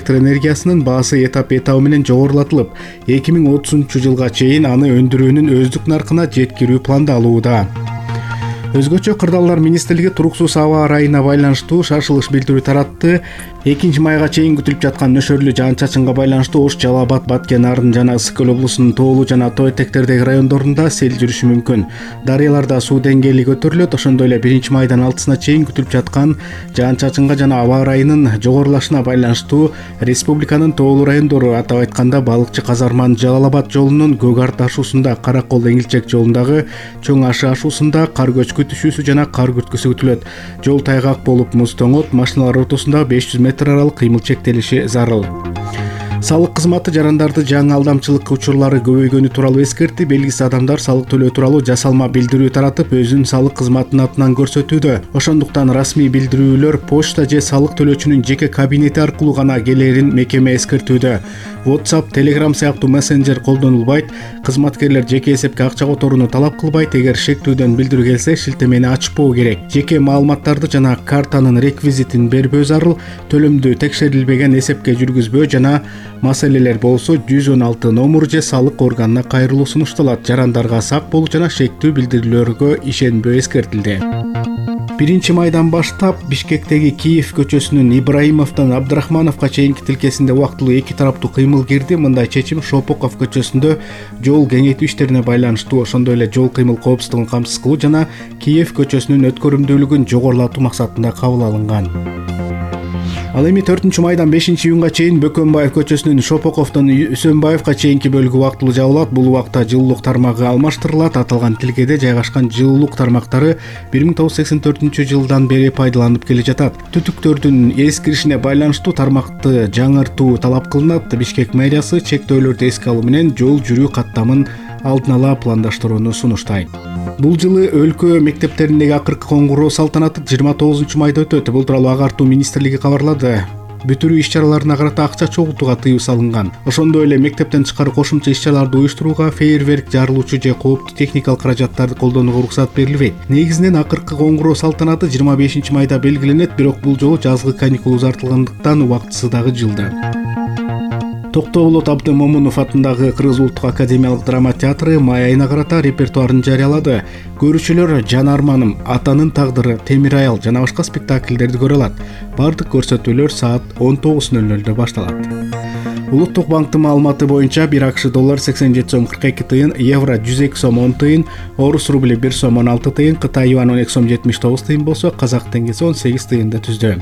электр энергиясынын баасы этап менен жогорулатылып, 2030-жылга чейин аны өндүрүүнүн өздүк наркына жеткирүү пландалууда. Өзгөчө Кырдаалдар министрлиги туруксуз аба ырайына байланыштуу шашылыш билдирүү таратты. 2-майга чейин күтүлүп жаткан нөшөрлүү жаан-чачынга байланыштуу Ош, Жалал Абад, Баткен, Нарын жана Ысык Көл облусунун тоолуу жана тоо этектердеги райондорунда сел жүрүшү мүмкүн. Дарыяларда суу деңгээли көтөрүлөт. Ошондой эле 1-майдан 6-сына чейин күтүлүп жаткан жаан-чачынга жана аба ырайынын жогорулашына байланыштуу республиканын тоолуу райондору, атап айтканда Балыкчы Казарман Жалал Абад жолунун Көк Арт ашуусунда, Каракол Эңилчек жолундагы Чоң Ашы ашуусунда кар көчкү түшүүсү жана кар күрткүсү күтүлөт. Жол тайгак болуп, муз тоңот, машиналар ортосунда 500 метр аралык кыймыл чектелиши зарыл. Салык кызматы жарандарды жаңы алдамчылык учурлары көбөйгөнү тууралуу эскертти. Белгисиз адамдар салык төлөө тууралуу жасалма билдирүү таратып, өзүн салык кызматынын атынан көрсөтүүдө. Ошондуктан расмий билдирүүлөр почта же салык төлөөчүнүн жеке кабинети аркылуу гана келерин мекеме эскертүүдө. WhatsApp, Telegram сыяктуу мессенджер колдонулбайт. Кызматкерлер жеке эсепке акча которууну талап кылбайт. Эгер шектүүдөн билдирүү келсе, шилтемени ачпоо керек. Жеке маалыматтарды жана картанын реквизитин бербөө зарыл. Төлөмдү текшерилбеген эсепке жүргүзбөө жана маселелер болсо 116 номер же салык органына кайрылуу сунушталат. Жарандарга сак болуу жана шектүү билдирүүлөргө ишенбөө эскертилди. 1-майдан баштап Бишкектеги Киев көчөсүнүн Ибраимовдон Абдрахмановго чейинки тилкесинде убактылуу 2 тараптуу кыймыл кирди. Мындай чечим Шопоков көчөсүндө жол кеңейтүү иштерине байланыштуу, ошондой эле жол кыймыл коопсуздугун камсыз кылуу жана Киев көчөсүнүн өткөрүмдүүлүгүн жогорулатуу максатында кабыл алынган. Ал эми 4-майдан 5-июнга чейин Бөкөнбаев көчөсүнүн Шопоковдон Үсөнбаевга чейинки бөлүгү убактылуу жабылат. Бул убакта жылуулук тармагы алмаштырылат. Аталган тилкеде жайгашкан жылуулук тармактары 1984-жылдан бери пайдаланып келе жатат. Түтүктөрдүн эскиришине байланыштуу тармакты жаңыртуу талап кылынат. Бишкек мэриясы чектөөлөрдү эске алуу менен жол жүрүү каттамын алдын ала пландаштырууну сунуштайт. Бул жылы өлкө мектептериндеги акыркы коңгуроо салтанаты 29-майда өтөт. Бул тууралуу Агартуу министрлиги кабарлады. Бүтүрүү иш-чараларына карата акча чогултууга тыюу салынган. Ошондой эле мектептен тышкары кошумча иш-чараларды уюштурууга, фейерверк, жарылуучу же кооптуу техникалык каражаттарды колдонууга уруксат берилбейт. Негизинен акыркы коңгуроо салтанаты 25-майда белгиленет, бирок бул жолу жазгы каникул узартылгандыктан убактысы дагы жылда. Токтоболот Абдымомунов атындагы Кыргыз улуттук академиялык драма театры май айына карата репертуарын жарыялады. Көрүүчүлөр Жан Арманым, Атанын тагдыры, Темир аял жана башка спектакльдерди көрө алат. Бардык көрсөтүүлөр саат 19:00 башталат. Улуттук банктын маалыматы боюнча 1 АКШ доллар 87 сом 42 тыйын, евро 102 сом 10 тыйын, орус рубли 1 сом 16 тыйын, Кытай юан 12 сом 79 тыйын болсо, казак теңгеси 18 тыйынды түздү.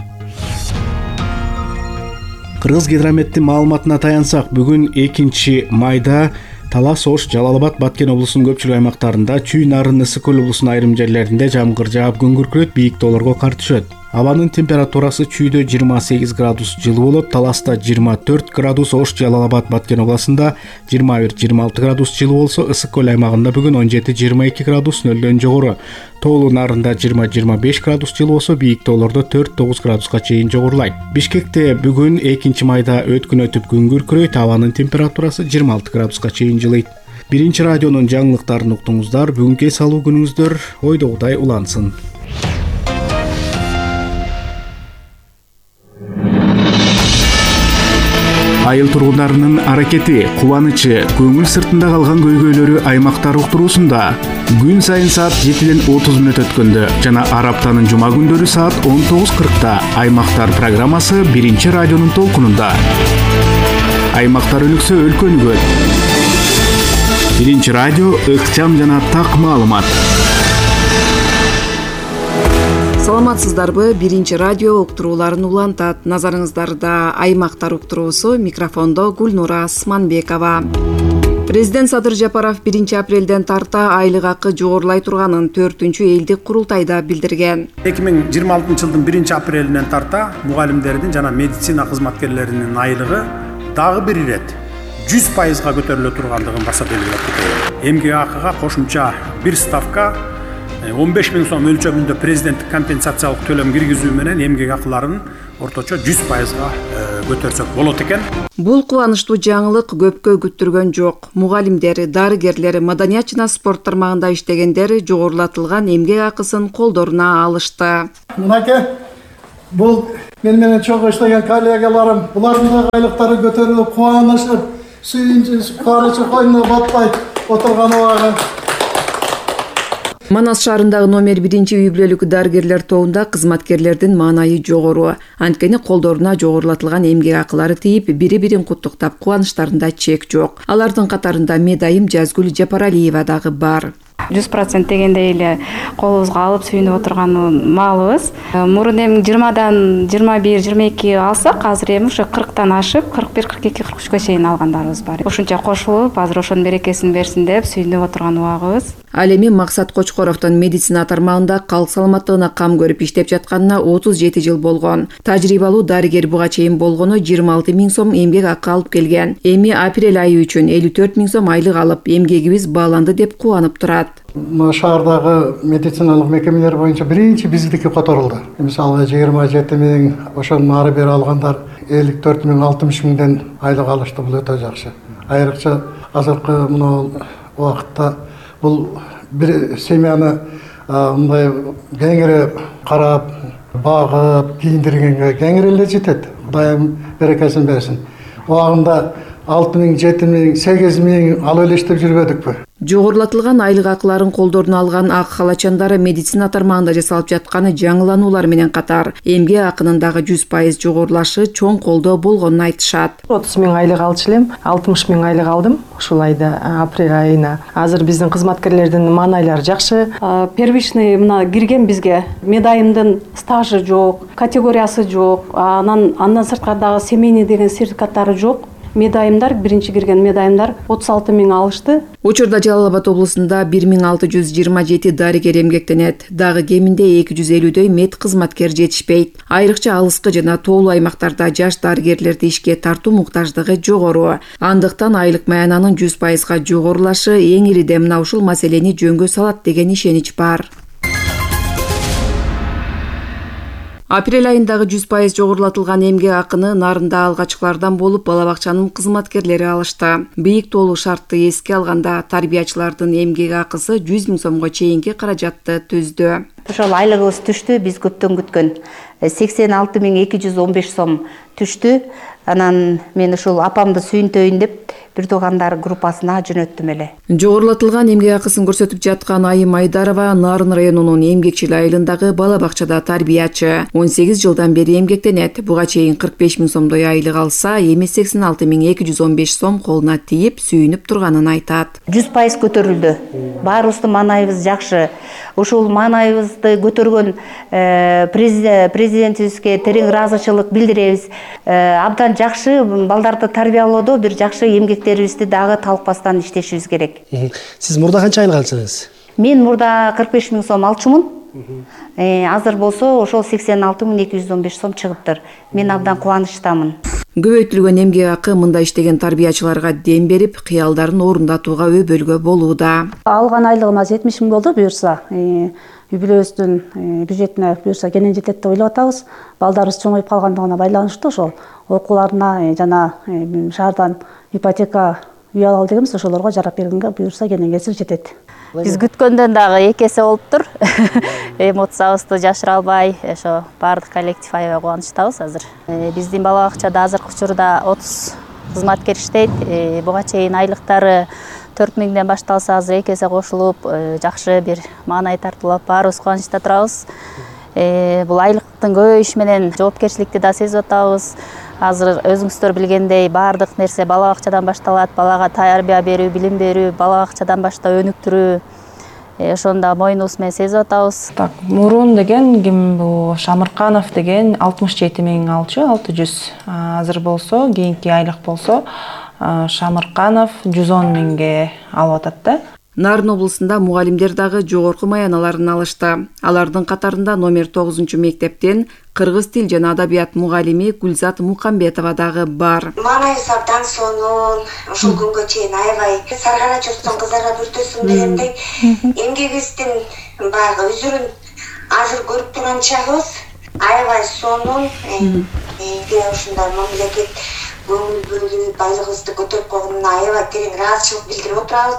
Кыргыз гидрометтин маалыматына таянсак, бүгүн 2-майда Талас, Ош, Жалал Абад, Баткен облусунун көпчүлүк аймактарында, Чүй, Нарын, Ысык Көл облусунун айрым жерлеринде жамгыр жаап, күн күркүрөйт, бийик тоолорго кар түшөт. Абанын температурасы Чүйдө 28 градус жылы болот, Таласта 24 градус, Ош, Жалал Абад, Баткен областында 21-26 градус жылы болсо, Ысык Көл аймагында бүгүн 17-22 градус нөлдөн жогору. Тоолуу Нарында 20-25 градус жылы болсо, бийик тоолордо 4-9 градуска чейин жогорулайт. Бишкекте бүгүн 2-майда өткүн өтүп күн күркүрөйт, абанын температурасы 26 градуска чейин жылыйт. 1-радионун жаңылыктарын уктуңуздар. Бүгүнкү эс алуу күнүңүздөр ойдогудай улансын. Айыл тургундарынын аракети, кубанычы, көңүл сыртында калган көйгөйлөрү аймактар уктуруусунда. Күн сайын саат 7-ден 30 мүнөт өткөндө жана ар аптанын жума күндөрү саат 19:40 Аймактар программасы 1-радионун толкунунда. Аймактар өнүксө өлкө өнүгөт. 1-радио ыкчам жана так маалымат. Саламатсыздарбы? 1-радио уктурууларын улантат. Назарыңыздарда аймактар уктуруусу, микрофондо Гүлнура Асманбекова. Президент Садыр Жапаров 1 апрелден тарта айлык акы жогорулай турганын 4-элдик курултайда билдирген. 2026 жылдын 1 апрелинен тарта мугалимдердин жана медицина кызматкерлеринин айлыгы дагы бир ирет 100%га көтөрүлө тургандыгын баса белгилеп. Эмгек акыга кошумча бир ставка 15 000 сом өлчөмүндө президенттик компенсациялык төлөм киргизүү менен эмгек акыларын орточо 100%га көтөрсөк болот экен. Бул кубанычтуу жаңылык көпкө күттүргөн жок. Мугалимдер, дарыгерлер, маданият жана спорт тармагында иштегендер жогорулатылган эмгек акысын колдоруна алышты. Мынакей Бул менен чогуу иштеген коллегаларым, булардын да айлыктары көтөрүлүп, кубанышып, сүйүнүп, кубанычы койнуна батпай отурган убагы. Манас шаарындагы номер 1 үй бүлөлүк дарыгерлер тобунда кызматкерлердин маанайы жогору. Анткени колдоруна жогорулатылган эмгек акылары тийип, бири-бирин куттуктап, кубанычтарында чек жок. Алардын катарында медайым Жазгүл Жапаралиева дагы бар. 100% дегендей эле колубузга алып сүйүнүп отурган маалыбыз. Мурун эми 20дан 21-22 алсак, азыр эми ушу 40тан ашып, 41-42-43гө чейин алгандарыбыз бар. Ошончо кошулуп, азыр ошонун берекесин берсин деп сүйүнүп отурган убагыбыз. Ал эми Максат Кочкоровдун медицина тармагында калк саламаттыгына кам көрүп иштеп жатканына 37 жыл болгон. Тажрыйбалуу дарыгер буга чейин болгону 26 000 сом эмгек акы алып келген. Эми апрель айы үчүн 54 000 сом айлык алып, эмгегибиз бааланды деп кубанып турат. Шаардагы медициналык мекемелер боюнча биринчи биздики которулду. Мисалы 27 000, ошонун ары бери алгандар 54 000, 60 000ден айлык алышты. Бул өтө жакшы. Айрыкча азыркы мына убакытта бул бир семьяны мындай кеңири карап, багып, кийиндиргенге кеңири эле жетет. Кудайым берекесин берсин. Убагында 6 000, 7 000, 8 000 алып эле иштеп жүрбөдүкпү? Жогорулатылган айлык акыларын колдоруна алган ак халачандары медицина тармагында жасалып жатканы жаңылануулар менен катар эмгек акынын дагы 100% жогорулашы чоң колдоо болгонун айтышат. 30 000 айлык алчу элем, 60 000 айлык алдым ушул айда, апрель айына. Азыр биздин кызматкерлердин маанайлары жакшы. Первичный мына кирген бизге медайымдын стажы жок, категориясы жок, андан сырткары дагы семейный деген сертификаттары жок. Медайымдар, биринчи кирген медайымдар 36 000 алышты. Учурда Жалал Абад облусунда 1627 дарыгер эмгектенет. Дагы кеминде 250дөй мед кызматкер жетишпейт. Айрыкча алыскы жана тоолуу аймактарда жаш дарыгерлерди ишке тартуу муктаждыгы жогору. Андыктан айлык маянанын 100%га жогорулашы эң ириде мына ушул маселени жөнгө салат деген ишенич бар. Апрель айындагы 100% жогорулатылган эмгек акыны нарында алгачкылардан болуп бала бакчанын кызматкерлери алышты. Бийик тоолуу шартты эске алганда тарбиячылардын эмгек акысы 100 000 сомго чейинки каражатты түздү. Ошол айлыгыбыз түштү, биз көптөн күткөн 86 215 сом түштү. Анан мен ушул апамды сүйүнтөйүн деп бир туугандар группасына жөнөттүм эле. Жогорулатылган эмгек акысын көрсөтүп жаткан Айым Айдарова Нарын районунун Эмгекчил айылындагы бала бакчада тарбиячы. 18 жылдан бери эмгектенет. Буга чейин 45 000 сомдой айлык алса, эми 86 215 сом колуна тийип сүйүнүп турганын айтат. 100% көтөрүлдү. Баарыбыздын маанайыбыз жакшы. Ушул маанайыбызды көтөргөн президентибизге терең ыраазычылык билдиребиз. Абдан жакшы балдарды тарбиялоодо бир жакшы эмгектерибизди дагы талкпастан иштешибиз керек. Сиз мурда канча айлык алчыңыз? Мен мурда 45 000 сом алчумун. Азыр болсо ошол 86 215 сом чыгыптыр. Мен абдан кубанычтамын. Көбөйтүлгөн эмгек акы мында иштеген тарбиячыларга дем берип, кыялдарын орундатууга өбөлгө болууда. Алган айлыгыма 70 000 болду буюрса. Үй бүлөбүздүн бюджетине буюрса кенен жетет деп ойлоп атабыз. Балдарыбыз чоңоюп калгандыгына байланыштуу ошол окууларына жана шаардан ипотека үй алалы дегенбиз, ошолорго жарап бергенге буюрса кенен кесир жетет. Биз күткөндөн дагы эки эсе болуптур. Эмоциябызды жашыра албай, ошо баардык коллектив аябай кубанычтабыз азыр. Биздин бала бакчада азыркы учурда 30 кызматкер иштейт. Буга чейин айлыктары 4 000ден башталса, азыр эки эсе кошулуп, жакшы бир маанай тартуулап баарыбыз кубанычта турабыз. Бул айлыктын көбөйүшү менен жоопкерчиликти да сезип атабыз. Азыр өзүңүздөр билгендей баардык нерсе бала бакчадан башталат. Балага тарбия берүү, билим берүү, бала бакчадан баштап өнүктүрүү. Ошону да мойнубуз менен сезип атабыз. Мурун деген ким бул Шамырканов деген 67 000 алчу, 600. Азыр болсо, кийинки айлык болсо Шамырканов 110 000ге алып атат да. Нарын облусунда мугалимдер дагы жогорку маяналарын алышты. Алардын катарында номер 9 мектептен кыргыз тил жана адабият мугалими Гүлзат Мукамбетова дагы бар. Маанайыбыз абдан сонун, ушул күнгө чейин аябай саргара журттун кыздары бүртөсүн дегендей эмгегибиздин баягы үзүрүн азыр көрүп турган чагыбыз аябай сонун. Ушундай мамлекет көңүл бөлүп айлыгыбызды көтөрүп койгонуна аябай терең ыраазычылык билдирип отурабыз.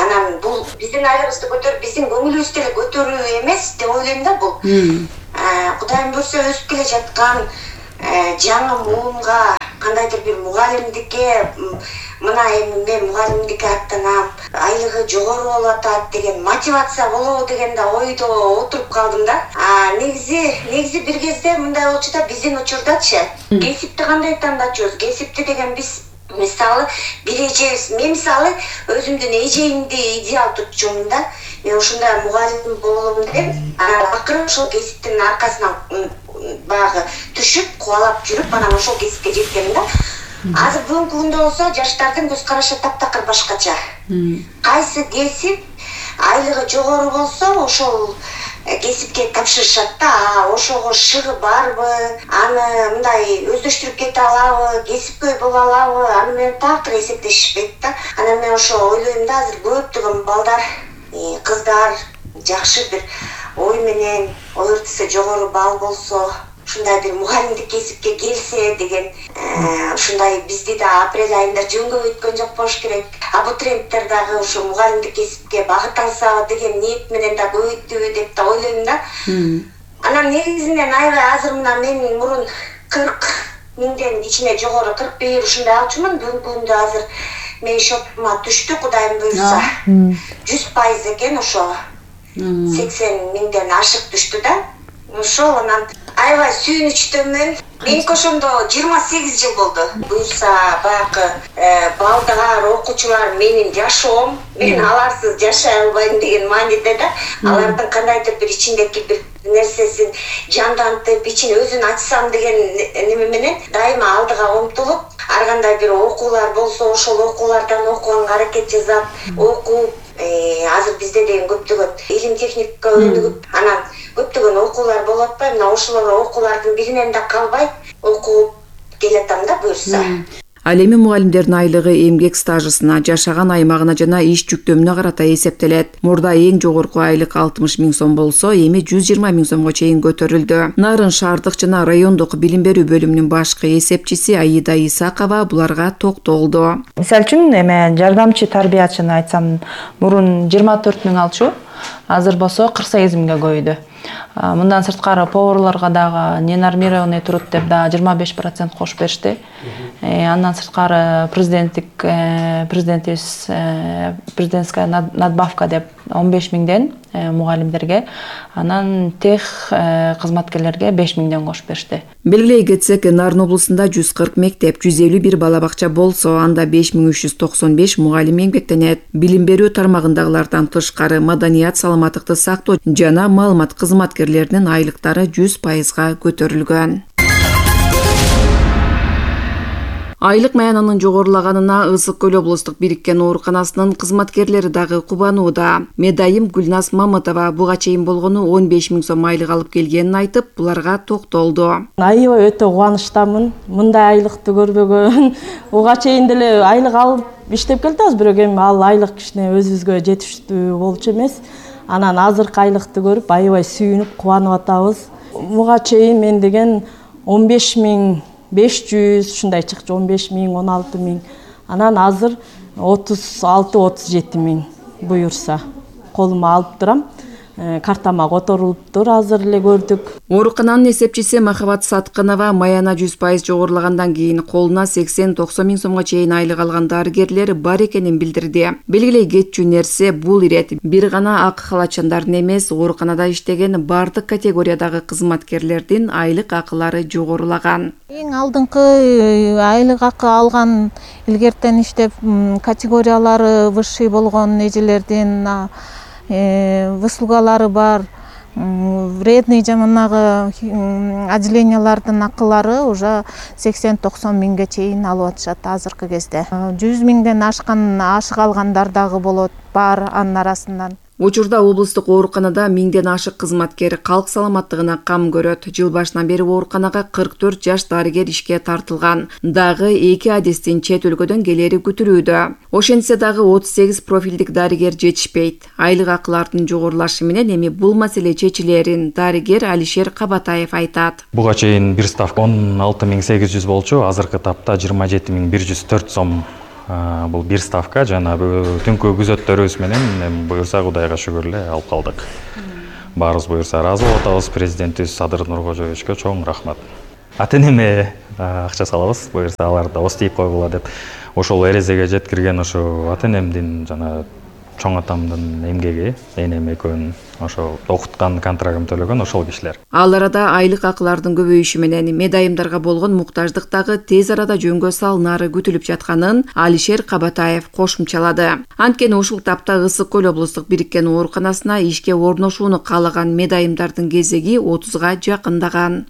Анан бул биздин айлыгыбызды көтөрүп, биздин көңүлүбүздү көтөрүү эмес деп ойлойм да бул. Кудайым буйрса өсүп келе жаткан жаңы муунга кандайдыр бир мугалимдикке мына эми мен мугалимдикке аттанам, айлыгы жогору болуп атат деген мотивация болобу деген да ойдо отуруп калдым да. Негизи бир кезде мындай болчу да, биздин учурдачы кесипти кандай тандачубуз? Кесипти деген биз мисалы бир эжебиз, мен мисалы өзүмдүн эжеимди идеал tutчумун да. Мен ушундай мугалим болом деп, акыры ошол кесиптин аркасынан баягы түшүп, кубалап жүрүп, анан ошол кесипке жеткенмин да. Азыр бүгүнкү күндө болсо жаштардын көз карашы таптакыр башкача. Кайсы кесип айлыгы жогору болсо ошол кесипке тапшырышат да. Ошого шыгы барбы, аны мындай өздөштүрүп кете алабы, кесипкөй боло алабы, аны менен такыр эсептешишпейт да. Анан мен ошо ойлойм да, азыр көптөгөн балдар, кыздар жакшы бир ой менен, ой ортосу жогору балл болсо, ушундай бир мугалимдик кесипке келсе деген, ушундай бизди да апрель айында жөнгө өткөн жок болуш керек. Абитуриенттер дагы ушу мугалимдик кесипке багыт алса деген ниет менен да көбөйттү деп да ойлойм да. Анан негизинен аябай азыр мына мен мурун 40 миңден ичине жогору 41 ушундай алчумун. Бүгүнкү күндө азыр мен шотума түштү, Кудайым буйрса 100% экен, ошо 80 миңден ашык түштү да. Ошол анан аябай сүйүнүчтөмүн. Меники ошондо 28 жыл болду. Буйрса баягы балдар, окуучулар менин жашоом, мен аларсыз жашай албайм деген мааниде да. Алардын кандайдыр бир ичиндеки бир нерсесин жандантып, ичин өзүн ачсам деген неме менен дайыма алдыга умтулуп, ар кандай бир окуулар болсо ошол окуулардан окуганга аракет жасап, окуп, азыр бизде деген көптөгөн илим техникага өнүгүп, анан көптөгөн окуулар болуп атпайбы? Мына ошолор окуулардын биринен да калбай окуп келатам да буйрса. Ал эми мугалимдердин айлыгы эмгек стажысына, жашаган аймагына жана иш жүктөмүнө карата эсептелет. Мурда эң жогорку айлык 60 миң сом болсо, эми 120 миң сомго чейин көтөрүлдү. Нарын шаардык жана райондук билим берүү бөлүмүнүн башкы эсепчиси Аида Исакова буларга токтолду. Мисалы үчүн эме жардамчы тарбиячыны айтсам, мурун 24 миң алчу, азыр болсо 48 миңге көбөйдү. Мындан сырткары поварларга дагы ненормированный труд деп да 25% кошуп беришти. Андан сырткары президентская надбавка деп 15 миңден мугалимдерге, анан тех кызматкерлерге 5 миңден кошуп беришти. Белгилей кетсек, Нарын облусунда 140 мектеп, 151 бала бакча болсо, анда 5395 мугалим эмгектенет. Билим берүү тармагындагылардан тышкары маданият, саламаттыкты сактоо жана маалымат кызматкерлеринин айлыктары 100%га көтөрүлгөн. Айлык маянанын жогорулаганына Ысык Көл облустук бириккен ооруканасынын кызматкерлери дагы кубанууда. Медайым Гүлназ Мамытова буга чейин болгону 15 миң сом айлык алып келгенин айтып, буларга токтолду. Аябай өтө кубанычтамын. Мындай айлыкты көрбөгөн. Буга чейин деле айлык алып иштеп келдибиз, бирок эми ал айлык кичине өзүбүзгө жетиштүү болчу эмес. Анан азыркы айлыкты көрүп аябай сүйүнүп, кубанып атабыз. Буга чейин мен деген 15 миң 500 ушундай чыкчу, 15 миң, 16 миң. Анан азыр 36-37 миң буюрса колума алып турам. Картама которулуптур, азыр эле көрдүк. Оорукананын эсепчиси Махабат Сатканова маяна 100% жогорулагандан кийин колуна 80-90 миң сомго чейин айлык алган дарыгерлер бар экенин билдирди. Белгилей кетчү нерсе бул ирет бир гана ак халачандардын эмес, ооруканада иштеген бардык категориядагы кызматкерлердин айлык акылары жогорулаган. Эң алдыңкы айлык акы алган илгертен иштеп категориялары высший болгон эжелердин выслугалары бар, вредный жаманагы отделениялардын акылары уже 80-90 миңге чейин алып атышат азыркы кезде. 100 миңден ашык алгандар дагы болот, бар анын арасынан. Учурда облустук ооруканада 1000ден ашык кызматкер калк саламаттыгына кам көрөт. Жыл башынан бери ооруканага 44 жаш дарыгер ишке тартылган. Дагы 2 адистин чет өлкөдөн келери күтүлүүдө. Ошентсе дагы 38 профилдик дарыгер жетишпейт. Айлык акылардын жогорулашы менен эми бул маселе чечилерин дарыгер Алишер Кабатаев айтат. Буга чейин бир ставка 16800 болчу, азыркы тапта 27104 сом. Бул бир ставка жана түнкү күзөттөрүбүз менен буюрса Кудайга шүгүр эле алып калдык. баарыбыз буюрса ыраазы болуп атабыз. Президентибиз Садыр Нуркожоевичке чоң рахмат. Ата энеме акча салабыз, буюрса алар да ос тийип койгула деп. Ошол эрезеге жеткирген ошо ата энемдин жана чоң атамдын эмгеги, энем экөөнүн ошо окуткан, контрагым төлөгөн ошол кишилер. Ал арада айлык акылардын көбөйүшү менен медайымдарга болгон муктаждык дагы тез арада жөнгө салынары күтүлүп жатканын Алишер Кабатаев кошумчалады. Анткени ушул тапта Ысык көл облустук бириккен ооруканасына ишке орношууну каалаган медайымдардын кезеги 30га жакындаган.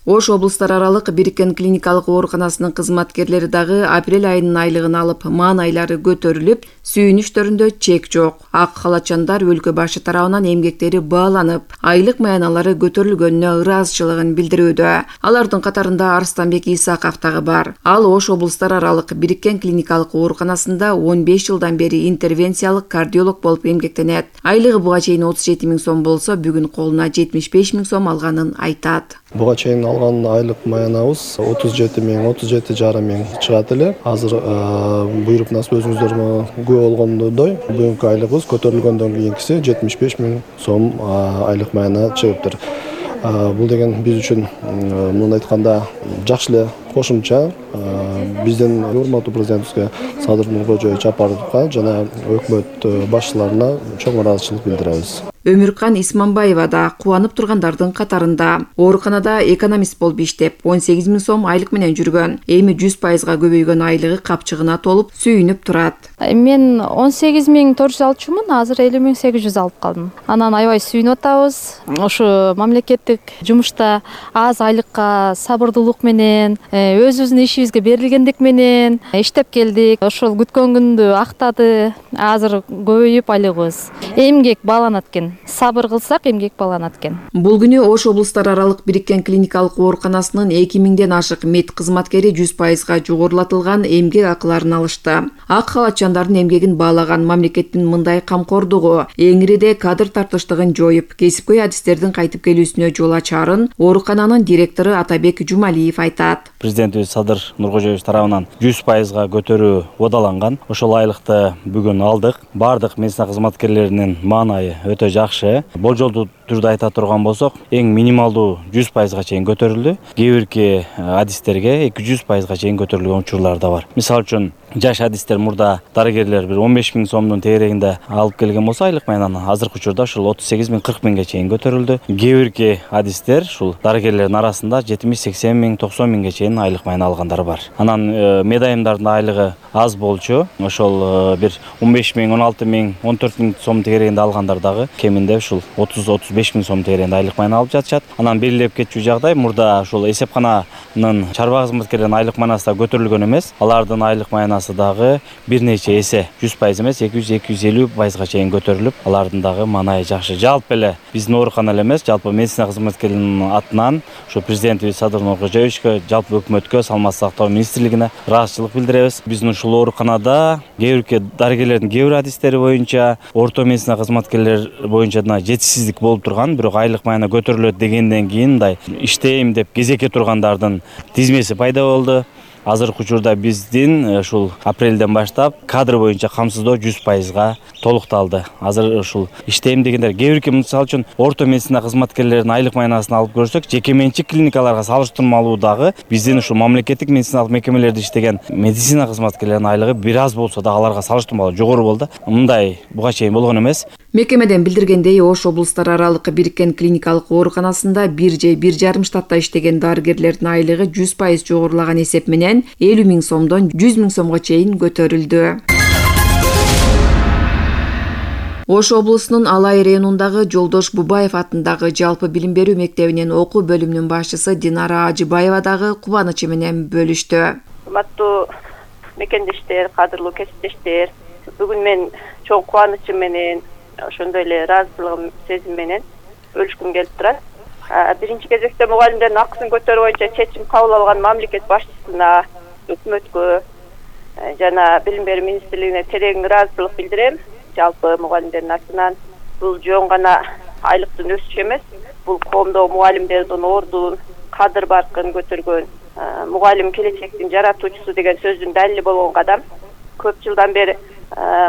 Ош облустар аралык бириккен клиникалык ооруканасынын кызматкерлери дагы апрель айынын айлыгын алып, маанайлары көтөрүлүп, сүйүнүштөрүндө чек жок. Ак халатчандар өлкө башы тарабынан эмгектери бааланып, айлык маяналары көтөрүлгөнүнө ыраазычылыгын билдирүүдө. Алардын катарында Арстанбек Исаков дагы бар. Ал Ош облустар аралык бириккен клиникалык ооруканасында 15 жылдан бери интервенциялык кардиолог болуп эмгектенет. Айлыгы буга чейин 37 000 сом болсо, бүгүн колуна 75 000 сом алганын айтат. Буга чейин алган айлык маянабыз 37 000, 37,5 000 чыгат эле. Азыр буйруп насып өзүңүздөр күбө болгондой, бүгүнкү айлыгыбыз көтөрүлгөндөн кийинкиси 75 000 сом айлык маяна чыгыптыр. Бул деген биз үчүн муну айтканда жакшы эле кошумча. Биздин урматтуу президентибизге Садыр Нуркожоевич Жапаровго жана өкмөт башчыларына чоң ыраазычылык билдиребиз. Өмүркан Исманбаева да кубанып тургандардын катарында. Ооруканада экономист болуп иштеп, 18 000 сом айлык менен жүргөн. Эми 100%га көбөйгөн айлыгы капчыгына толуп, сүйүнүп турат. Мен 18 400 алчумун, азыр 50 800 алып калдым. Анан аябай сүйүнүп атабыз. Ошо мамлекеттик жумушта аз айлыкка сабырдуулук менен, өзүбүздүн ишибизге берилгендик менен иштеп келдик. Ошол күткөн күндү актады. Азыр көбөйүп айлыгыбыз. Эмгек бааланат экен. Сабыр кылсак эмгек бааланат экен. Бул күнү Ош облустар аралык бириккен клиникалык ооруканасынын 2000ден ашык мед кызматкери 100%га жогорулатылган эмгек акыларын алышты. Ак халатчандардын эмгегин баалаган мамлекеттин мындай камкордугу эңириде кадр тартыштыгын жоюп, кесипкөй адистердин кайтып келүүсүнө жол ачарын оорукананын директору Атабек Жумалиев айтат. Президентибиз Садыр Нуркожоевич тарабынан 100%га көтөрүү уодаланган. Ошол айлыкты бүгүн алдык. Бардык медицина кызматкерлеринин маанайы өтө жакшы. Болжолдуу түрдө айта турган болсок, эң минималдуу 100%га чейин көтөрүлдү. Кээ бирки адистерге 200%га чейин көтөрүлгөн учурлар да бар. Мисалы үчүн жаш адистер мурда дарыгерлер бир 15 000 сомдун тегерегинде алып келген болсо, айлык маянаны азыркы учурда ушул 38 000, 40 000ге чейин көтөрүлдү. Кээ бирки адистер ушул дарыгерлердин арасында 70, 80 000, 90 000ге чейин айлык маяна алгандар бар. Анан медайымдардын айлыгы аз болчу. Ошол бир 15 000, 16 000, 14 000 сом тегерегинде алгандар дагы кеминде ушул 30-35 000 сом тегерегинде айлык маяна алып жатышат. Анан белгилеп кетчү жагдай, мурда ушул эсепкананын чарба кызматкерлеринин айлык маянасы да көтөрүлгөн эмес. Алардын айлык маянасы дагы бир нече эсе 100% эмес, 200-250%га чейин көтөрүлүп, алардын дагы маанайы жакшы. Жалпы эле биздин оорукана эле эмес, жалпы медицина кызматкерлеринин атынан ушу президентибиз Садыр Нуркожоевичке, жалпы өкмөткө, саламаттык сактоо министрлигине ыраазычылык билдиребиз. Биздин ушул ооруканада кээ бирки дарыгерлердин кээ бир адистери боюнча, орто медицина кызматкерлер боюнча да жетишсиздик болуп турган, бирок айлык маяна көтөрүлөт дегенден кийин мындай иштейм деп кезекке тургандардын тизмеси пайда болду. Азыркы учурда биздин ушул апрелден баштап кадр боюнча камсыздоо 100%га толукталды. Азыр ушул иштейм дегендер кээ бирки, мисалы үчүн орто медицина кызматкерлеринин айлык маянасын алып көрсөк, жеке менчик клиникаларга салыштырмалуу дагы биздин ушул мамлекеттик медициналык мекемелерде иштеген медицина кызматкерлеринин айлыгы бир аз болсо да аларга салыштырмалуу жогору болду. Мындай буга чейин болгон эмес. Мекемеден билдиргендей, Ош облустар аралык бириккен клиникалык ооруканасында 1 же 1,5 штатта иштеген дарыгерлердин айлыгы 100% жогорулаган эсеп менен 50 000 сомдон 100 000 сомго чейин көтөрүлдү. Ош облусунун Алай районундагы Жолдош Бубаев атындагы жалпы билим берүү мектебинин окуу бөлүмүнүн башчысы Динара Ажыбаева дагы кубанычы менен бөлүштү. Урматтуу мекендештер, кадырлуу кесиптештер, бүгүн мен чоң кубанычым менен, ошондой эле ыраазычылыгым сезим менен бөлүшкүм келип турат. Биринчи кезекте мугалимдердин акысын көтөрүү боюнча чечим кабыл алган мамлекет башчысына, өкмөткө жана билим берүү министрлигине терең ыраазычылык билдирем. Жалпы мугалимдердин атынан бул жөн гана айлыктын өсүшү эмес, бул коомдогу мугалимдердин ордун, кадыр баркын көтөргөн, мугалим келечектин жаратуучусу деген сөздүн далили болгон кадам. Көп жылдан бери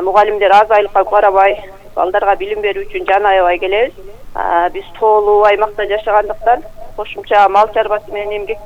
мугалимдер аз айлыкка карабай балдарга билим берүү үчүн жан аябай келебиз. Биз тоолуу аймакта жашагандыктан кошумча мал чарбасы менен эмгек